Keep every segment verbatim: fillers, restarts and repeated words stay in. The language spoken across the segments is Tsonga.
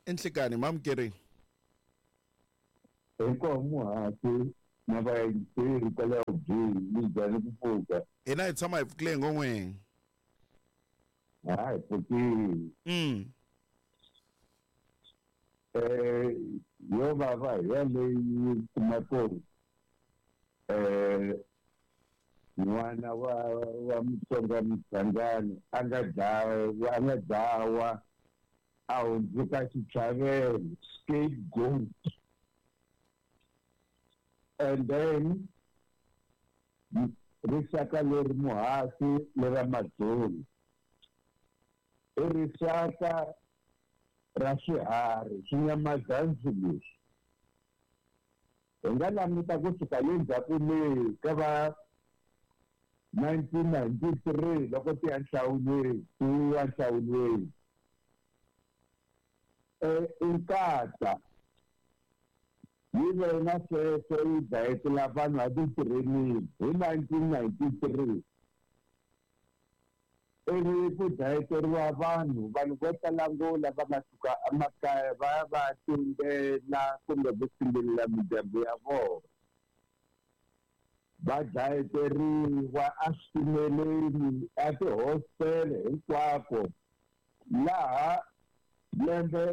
Enhlekani mamukeri. Inkomo muhasi na vayingiseri kwalaho byini mi njhani ku pfuka? Hina hi tshama hi pfukile ngopfu. Hayi pfukile. Mm. Eh yo vava yaleyi kuma ku eh n'wana wa wa Mutsonga Mchangani a nga dlawa a nga dlawa a hundzuka xitlhavelo, scapegoat. And then rixaka leri muhasi lera Mazulu i rixaka ra swiharhi swinyamazansi leswi hi nga languta kusuka le ndzhaku le ka va nineteen ninety-three loko ti ya nhlawulweni ti ya nhlawulweni eh Inkatha yi ve na sweswo yi dlayetela vanhu a ti-training hi nineteen ninety-three ivi ku dlayeteriwa vanhu vanhu vo tala ngo lava nga suka emakaya va ya va tumbela kumbe ku tshimbilela mindyangu ya vona va dlayeteriwa eswitimeleni a tihostele hinkwako laha lembe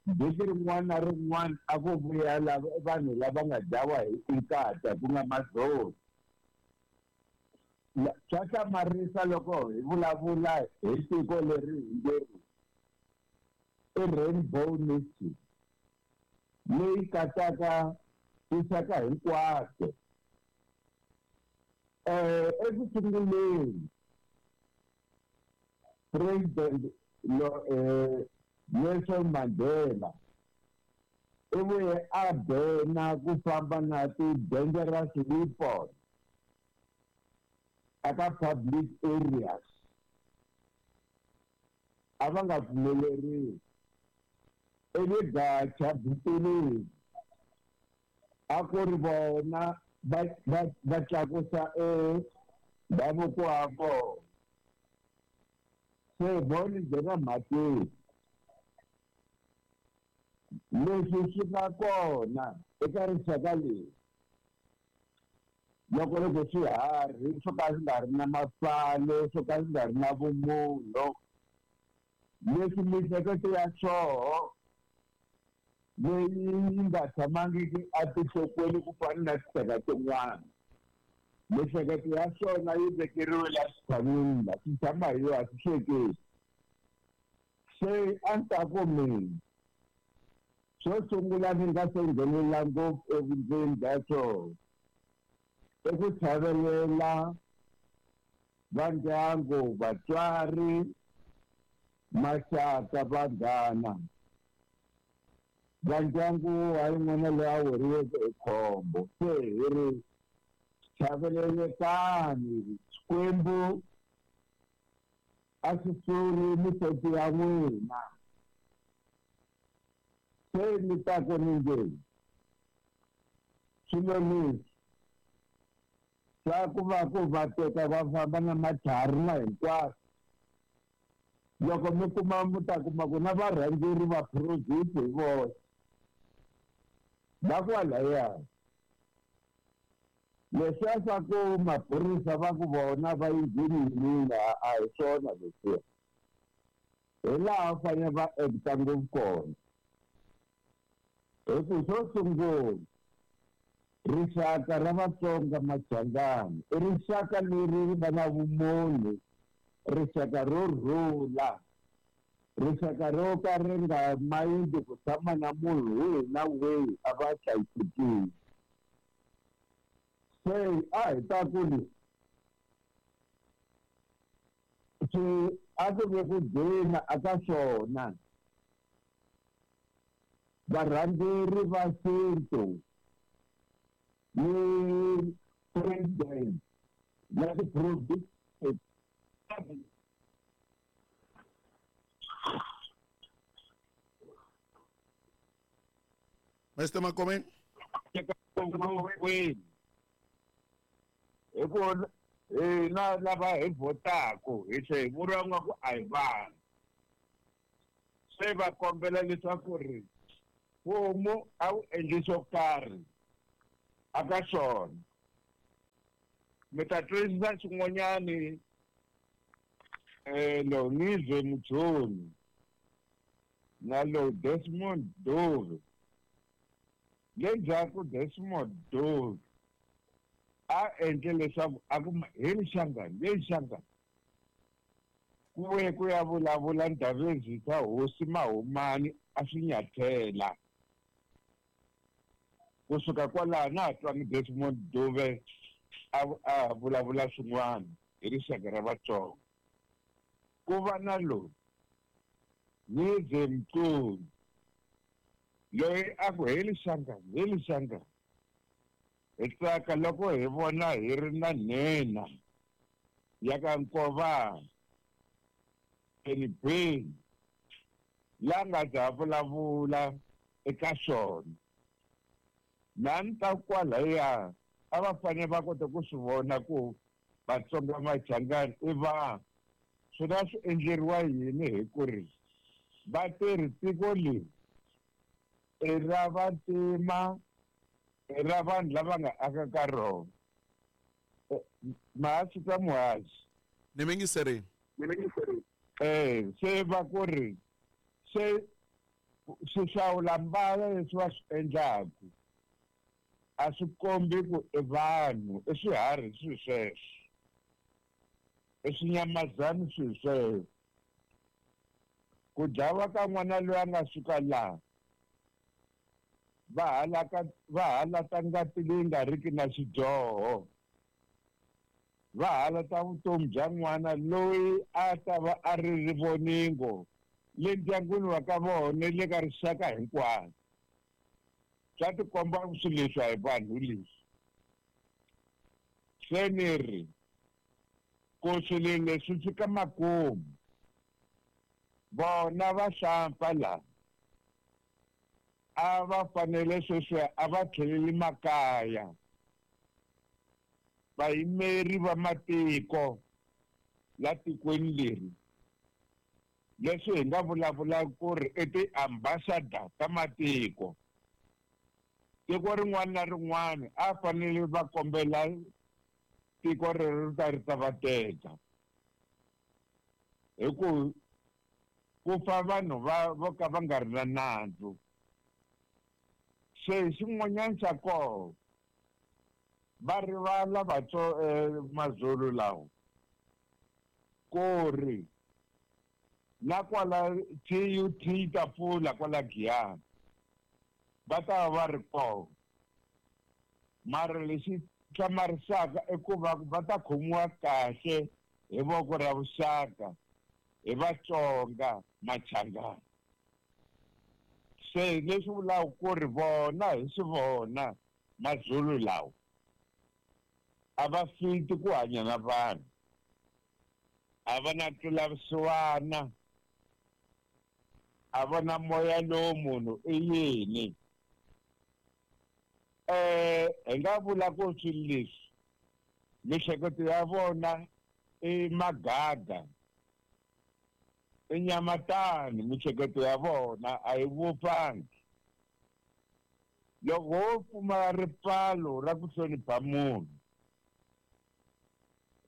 vhiki rin'wana na rin'wana a ku vuya vanhu lava nga dlawa hi Inkatha ku nga Mazulu. Swa hlamarisa loko hi vulavula hi tiko leri hi nge i Rainbow Nation leyi katsaka tinxaka hinkwato. Eh eku sunguleni President lo eh Nelson Mandela i vuye a bena ku famba na ti-dangerous weapons aka public areas a va nga pfumeleriwi. Ivi Gatsha Buthelezi a ku ri vona va va va tlakusa e ndhavuko wa vona. Se voni nghena mhakeni leswi swi nga kona eka rixaka leri loko loko swiharhi swo ka swi nga ri na mafalo swo ka swi nga ri na vumunhu leswi miehleketo ya swoho leyi yi nga tshamangiki etinhlokweni ku fana na tinxaka tin'wana miehleketo ya swona yi vekeriwe la xitshan'wini la swi tshama hi yona a swi hleketi. Se a ni ta ku mina xo sungula ni nga se nghenelela ngopfu evundzeni bya swona i ku chavelela va ndyangu vatswari maxaka vanghana va ndyangu wa yin'wana loyi a weriweke hi khombo. Se hi ri chavelelekani Xikwembu a xi suli mihloti ya n'wina. Se ni ta ku ni nge swilo leswi swa ku va ku va teka va famba na matlhari na hinkwaswo loko mi kuma mi ta kuma ku na varhangeri va project hi voxe va kwalaya leswiya swa ku maphorisa va ku vona va yi nghenile a hi swona leswiya hi laha va fanele va acta ngopfu kona. Hi ku xo sungula rixaka ra Vatsonga Machangani i rixaka leri ri nga na vumunhu rixaka ro rhula rixaka ro ka ri nga mayindi ku tshama na munhu wihi na wihi a va hlayisekile. Se a hi ta ku ri swi a ku ve ku gcina aka swona varhangeri va xintu ni president na ti-province Mister Makomeni hi ku hina lava hi vhotaka hi tlhe hi vuriwa nga ku a hi vanhu. Se va kombela leswaku ri mfumo a wu endli swo karhi aka swona. Mi ta twisisa xin'wanyani um lo Ngizwe Mchunu na lo Desmond Dove. Le ndzhaku Desmond Dove a endle leswaku a ku hi rixangani le rixangani ku vuye ku ya vulavula Ndabezitha hosi Mahumani a swi nyathela. Kusuka kwalaho na ha twangi Desmond Dove a a vulavula swin'wana hi rixaka ra Vatsonga. Ku va na loyi Ngizwe Mchunu loyi a ku hi lixangani hi lixangani hi tsaka loko hi vona hi ri na nhenha ya ka Nkovana Enibeni la nga ta vulavula eka swona. Na ni ta kwalaya a va fanele va kota ku swi vona ku Vatsonga Machangani i vanhu. Swona swi endleriwa yini hi ku ri va tirhi tiko leri i ra vantima, i ra vanhu lava nga aka ka rona. Mahasi ka muhaxi. Ni mingiserini. Eh, se va ku ri se swihlawula mbala leswi va swi endlaku a swi kombi ku i vanhu, i swiharhi swi sweswo, i swinyamazana swi sweswo. Ku dlawa ka n'wana loyi a nga suka laha va halaka va halata ngati leyi nga riki na xidyoho, va halata vutomi bya n'wana loyi a ta va a ri rivoningo le ndyangwini wa ka vona le ka rixaka hinkwaro. Swa tikomba swilo leswi a hi vanhu leswi. Se ni ri ku swilo leswi fika makumu vona va hlampfa laha a va fanele sweswi a va tlheleli makaya. Vayimeri va matiko la tikweni leri leswi hi nga vulavula ku ri i ti-ambassador ta matiko, tiko rin'wana na rin'wana a fanele va kombela tiko rero ri ta ri ta va teka hi ku ku fa vanhu va vo ka va nga ri na nandzu. Se xin'wanyana xa kona va rivala vatso Mazulu lawa ku ri na kwala T U T ta pfula kwala Giyani va ta va ri kona, mara lexi hlamarisaka i ku va va ta khomiwa kahle hi voko ra vuxaka hi Vatsonga Machangani. Se leswi vulaka ku ri vona hi swi vona Mazulu lawa a va fiti ku hanya na vanhu, a va na ntwelavusiwana, a va na moya lowu munhu i yini. Eh hi nga vula ku swilo leswi mihleketo ya vona i magada, i nyamatani, mihleketo ya vona a yi vupfangi. Loko wo pfumala ripfalo ra ku hlonipha munhu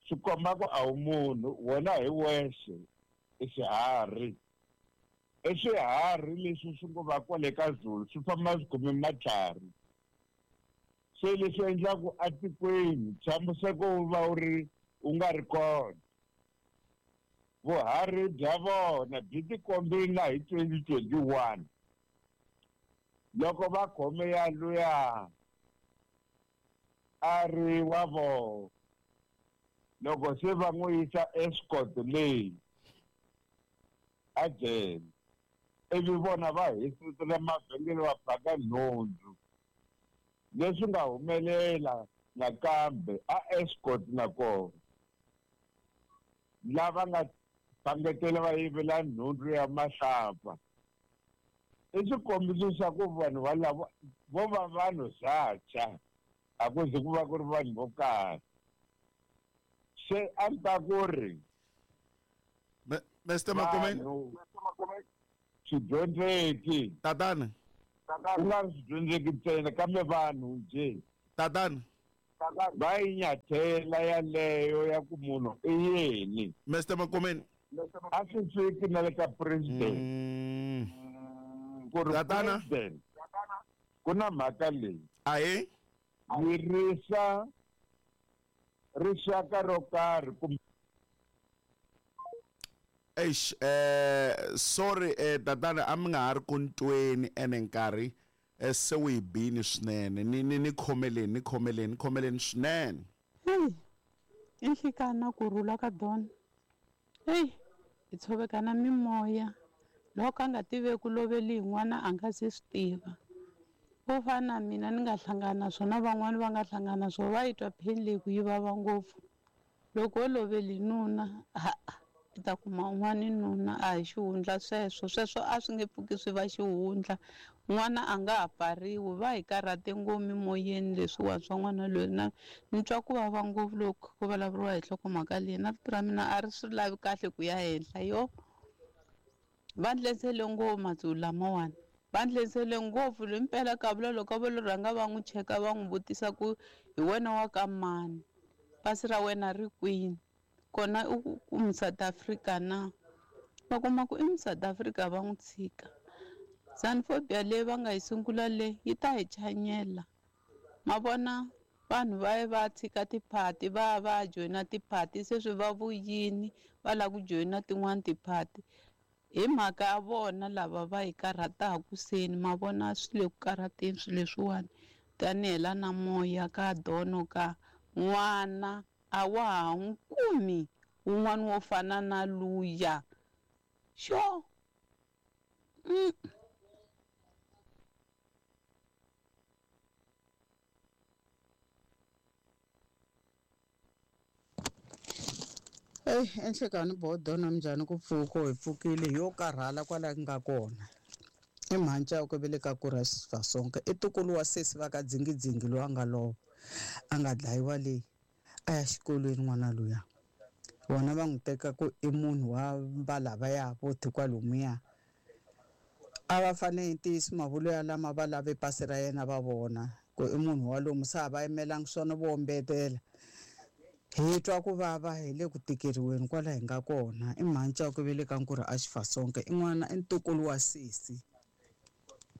swi komba ku a wu munhu, wena hi wexe i xiharhi. I swiharhi leswi swi ngo va kwale ka Zulu swi famba swi khome matlhari. Se leswi endlaku atikweni ntshamiseko wu va wu ri wu nga ri kona. Vuharhi bya vona byi tikombile na hi twenty twenty-one loko va khome ya luya a ri wa vona, loko se va n'wi yisa escort leyi a jele, ivi vona va hisetela mavhengele va phaka nhundzu. Leswi nga humelela nakambe a escort nakona lava nga pangetela va yivela nhundzu ya mahlapfa i xikombiso xa ku vanhu valavo vo va vanhu zacha, a ku zi ku va ku ri vanhu vo karhi. Se a ni ta ku ri Mister Makomeni, Swidyondzeki. Tatana. Ku nga ri swidyondzeki ntsena kambe vanhu nje. Tatana. Va yi nyathela yaleyo ya ku munhu i yini. Mister Makomeni. A swi fiki na le ka president. Ku ri Tatana. president ku na mhaka leyi. Ahe. Yirisa rixaka ro karhi kumbe. Eish, eh sorry eh tatana a mi nga ha ri ku ntweni ene nkarhi eh se wu hi bini swinene ni ni ni khomeleni ni khomeleni ni khomeleni swinene. Hey, i nhlikana ku rhula ka Don. Hey, hi tshovekana mimoya loko a nga tiveki ku loveli hi n'wana a nga se swi tiva. Vo fana na mina ni nga hlangana na swona van'wani va nga hlangana na swona va yi twa pain leyi ku yi vava ngopfu. Loko wo loveli nuna ha i ta kuma un'wana nuna a hi xihundla sweswo sweswo a swi nge pfuki swi va xihundla n'wana a nga ha pfariwi va hi karhate ngopfu mimoyeni leswiwa swa n'wana loyi na ni twa ku vava ngopfu loko ku vulavuriwa hi nhlokomhaka leyi na vito ra mina a ri swi lavi kahle ku ya henhla yo va ndlensele ngopfu matsuku lamawani va ndlensele ngopfu loyi mpela ka vula loko va lo rhanga va n'wi cheka va n'wi vutisa ku hi wena wa ka mani pasi ra wena ri kwini kona u ku mu South Africa na va kuma ku i mu South Africa va n'wi tshika. Xenophobia leyi va nga yi sungula le yi ta hi chanyela ma vona vanhu va ye va tshika tiphati va ya va ya joyina tiphati sweswi va vuyini va lava ku joyina tin'wani tiphati hi mhaka ya vona lava va hi karhataku seni ma vona swi le ku karhateni swilo leswiwani tanihi la na moya ka dono ka n'wana a wa ha n'wi kumi wun'wana wo fana na luya xo. Mm. Eyi enhlekani bodona minjhani ku pfuka hi pfukile yo karhala kwala nga kona i mhantsa ya ku veleka ku ra Sifasonke i ntukulu wa sesi va ka dzingidzingi loyi a nga lova a nga dlayiwa leyi a ya xikolweni n'wana luya vona va n'wi teka ku i munhu wa valavaya vo kwalomuya a va fanele ntiyiso mavulu ya lama va lave pasi ra yena va vona ku i munhu wa lomu se a va yimelangi swona vo ombetela hi twa ku vava hi le ku tikeriweni kwala hi nga kona i mhantsa ku veleka nkurhi a Xifasonke i n'wana i ntukulu wa sesi.